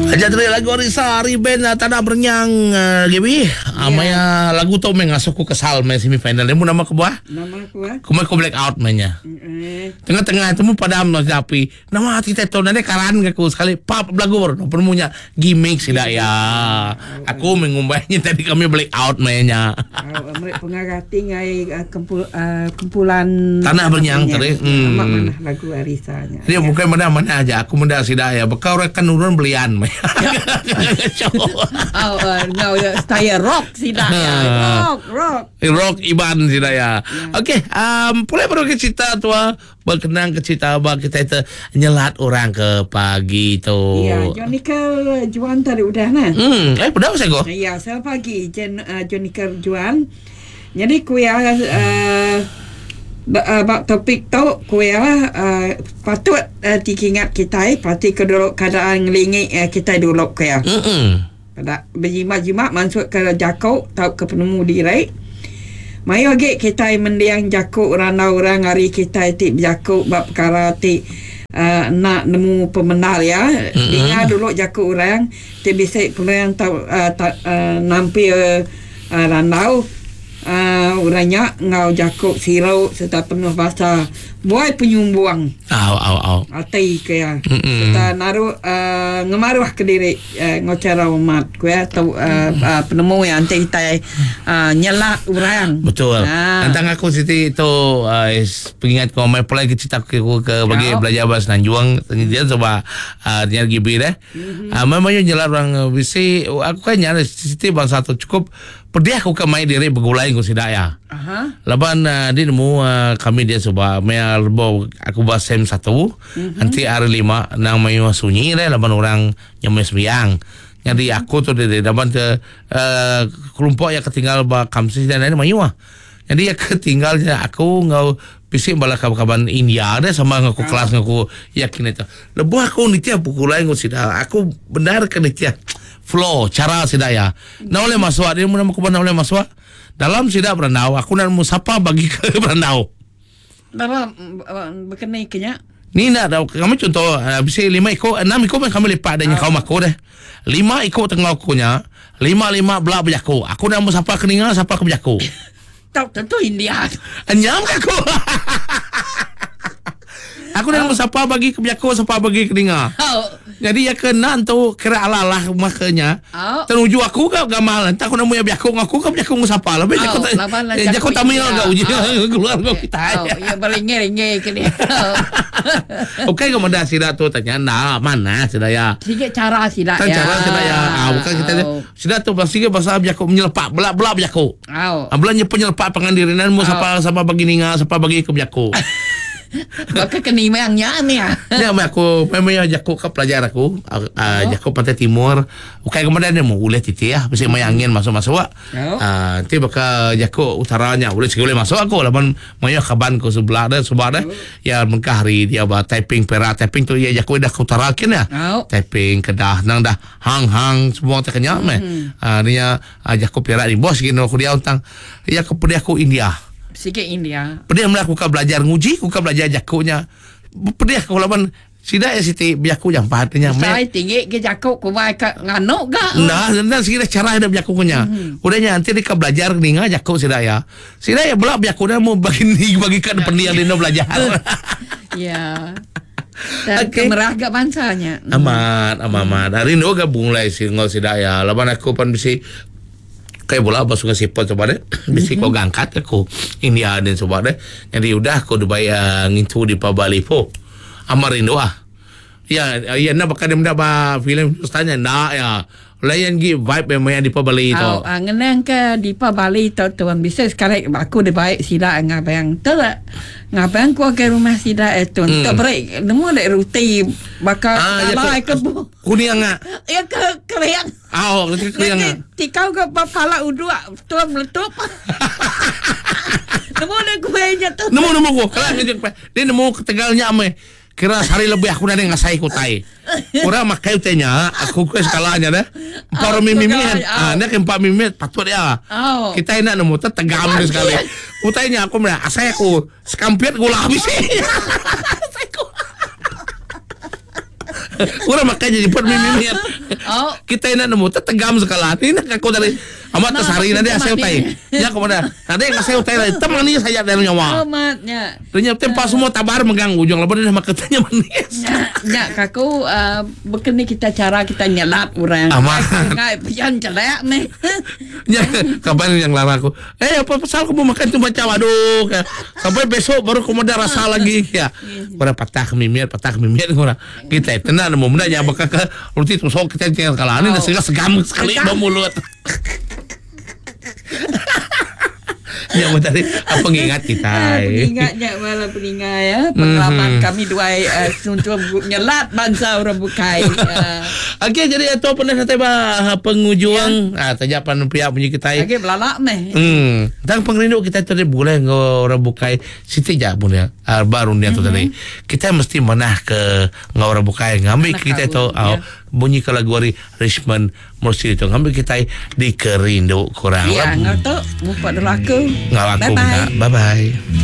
Aja tadi lagu Arisa ari band uh, Tanah Berenyang uh, Gaby. Uh, maya lagu tu meh ngasuh ku kesal meh semi final. Nemu nama kebuah? Nama kebuah? Ku meh ku black out meh nya. Tengah-tengah tu mu padam no api. Nama kita tu nadai karan ke aku sekali pap belagu baru no penemu nya gimmick sida ya. Aku meh ngumbai nya tadi kami black out meh nya. Au meri pengarah ti ngai kempul kumpulan Tanah Berenyang tadi. Hmm. Amat manah lagu Arisa nya. Dia bukan meda manah aja aku meda sida ya baka orang kan nurun belian meh. Au enggau style rock sida ya. Rock rock. Rock Iban sida ya. Okey, um, pulai baru ke cerita tua Bekenang ke cerita ba kitai te nyelat orang ke pagi tu. Ya, Jonica Juan tadi udah nah. Hmm, eh peda pasal ko. Ya, selamat pagi Jen uh, Jonica Juan. Jadi ku iya uh, ba topik tu ku iya uh, patut uh, dikingat kitai parti ke dulu keadaan ngelingi uh, kitai dulu ku iya. Hmm. Peda bejimat-jimat mansutka jaku tauka penemu diri. Mayuh agi kitai mending jaku randau orang ari kitai ti bejaku ba pekara ti enda nemu pemendar iya. Dinga dulu jaku orang ti bisi peluang tau nampil randau. Orang nya enggau jaku siru sereta penuh basa buai penyumbung ati ke iya sereta naru ngemaruhka diri enggau chara umat ku iya tu penemu iya enti kitai nyelak orang. Betul. Tentang aku siti tu pengingat ku amai pulai ke cerita aku ke bagi belajar ba Semenanjung dia suba nya GB deh. Amai mayuh nyelak orang bisi aku kan nya siti bansa tu chukup Pedih aku ke mai diri begulai enggau sida iya. Laban di nemu kami dia suba maya lebuh aku ba sem satu enti hari lima endang mayuh sunyi deh laban orang nyau meh sembiang. Nyadi aku tu diri laban ke uhh kelompok iya ke tinggal ba kamsis dan lain mayuh. Nyadi iya ke tinggal nya aku enggau bisi bala kaban-kaban India deh sama enggau aku kelas enggau aku yakin ito. Lebuh aku nitih begulai enggau sida aku bendar ke nitih flow chara sida iya. Enda ulih masuk dia mun aku enda ulih masuk. Dalam sida berandau aku enda nemu sapa bagi ke berandau. Dalam bekeni ke nya. Ni enda tau kami chunto bisi lima iku enam iku meh kami lipat deh nyengkaum aku deh. Lima iku tenggau aku nya lima lima bela bejaku. Aku enda nemu sapa ke ninga sapa ke bejaku. Tau tentu India tu. Nya meh aku. Aku dah nemu sapa bagi ke bejaku sapa bagi ke ninga. Nyadi iya ke enda entu kira alah-alah meh ke nya. Tenuju aku ga gamal enta aku nemu iya bejaku enggau aku ke bejaku enggau sapa lebih jaku jaku Tamil ga uji keluar enggau kitai. Iya beringe-ringe ke dia. Ukai ga meda sida tu tanya enda manah sida iya. Sigi chara sida iya. Chara sida iya. Bukan kitai sida tu sigi pasal bejaku menyelepak bela-bela bejaku. Au. Bela nyepu nyelepak pangan diri nan mu sapa sapa bagi ninga sapa bagi ke bejaku. Baka ke nimang nya mih. Nya meh aku meh meh jaku ke pelajar aku uh, jaku Pantai Timur ukai ke madah nemu ulih titi ah bisi maya angin masuk masuk. Uh, ti baka jaku utara nya ulih sigi ulih masuk aku laban mayuh kaban ku sebelah deh suba deh ya mengkah hari dia ba Taiping Perak Taiping tu iya jaku dah ke utara kin ya. Taiping Kedah nang dah hang hang semua te kenya meh. Uh, dia Jaku Perak ni bos gin aku diau tang iya ke pedih aku India. Sigi India. Pedih mela aku ka belajar nguji aku ka belajar jaku nya. Pedih aku laban sida iya siti bejaku jampat nya meh. Besai tinggi ke jaku ku bai ka nganu ga. Enda enda sigi dah cara ida bejaku ku nya. Udah nya enti deka belajar ninga jaku sida iya. Sida iya bela bejaku dah mu bagi ni bagi ka pending dinu belajar. Ya. Dan okay. kemerah ga bansa nya. Amat, amat, amat. Hari nu ga bungulai si enggau sida ya. Laban aku pan bisi kai bola ba Sungai Siput suba deh. Bisi ko gangkat aku India din suba deh. Jadi udah aku dibai uh, ngintu di Bali po. Amat rindu ah. Ya, ya nak bakal dia meda ba filem Hindustan nya nda ya. Layan gi vibe yang maya Dipa Bali tu. Au, ah, ngenang ke Dipa Bali tu tuan bisi sekali aku dibai sida ngabang tu ngabang ku ke rumah sida eh tuan hmm. tu beri nemu dek ruti baka ah, ya, ke bu. Kuning ah. Ya ke kering. Au, ke kering. Ah. Tikau ke pala uduk tuan meletup. Nemu dek kuih nya tu. Nemu nemu ku. Kalau dia nemu ketegal nya meh. Kira sehari lebih aku nadai ngasai ke utai. Orang makai utai nya, aku ke sekala nya deh. Empat orang mimit, ah nya ke empat mimit patut dia. Kita enda nemu te tegam dia sekali. Utai nya aku meda asai aku sekampit gula bisi. Asai aku. Orang makai jadi pun mimit. Oh. Kita nak nemu tertegam sekala. Ni nak aku tadi. Amat Nah, tersari nanti makin asal utai. Ya aku mana. Nanti asal utai lah. Tem manis saja dalam nyawa. Amatnya. Ternyata tempat semua tabar megang ujung lepas dia makan tanya manis. Nya, nya kaku uh, bekeni kita cara kita nyelap orang. Amat. Ngai pian celak ni. Ya, kapan yang larang aku? Eh, apa pasal aku mau makan tu macam aduh. Ka- Sampai besok baru aku ada rasa lagi ya. Orang patah mimir, patah mimir orang. Kita tenang nemu benda yang bakal ke roti tusuk kita tinggal kalah. Ini dah segam segam sekali Segam. bau mulut. Ya, tadi apa pengingat kita. Ah, Pengingatnya malah pengingat ya. Pengalaman Mhm. kami dua uh, suntuk nyelat bangsa orang bukai. Uh, Okey, jadi itu pernah nanti bah pengujuang. Ah, tajak pan pihak punya kita. Okey belalak meh. Hmm. Dan pengerindu kita tadi boleh ngau orang bukai siti jak pun ya. Ah, baru dia tu tadi. Kita mesti menah ke ngau orang bukai ngambil Menah kita tu kawan, ah, ya. bunyi ke lagu hari Richmond mesti itu ngambil kita dikerindu kurang. Ya, ngau tu mupak dulu aku. Ngau aku. Bye bye. Bye bye.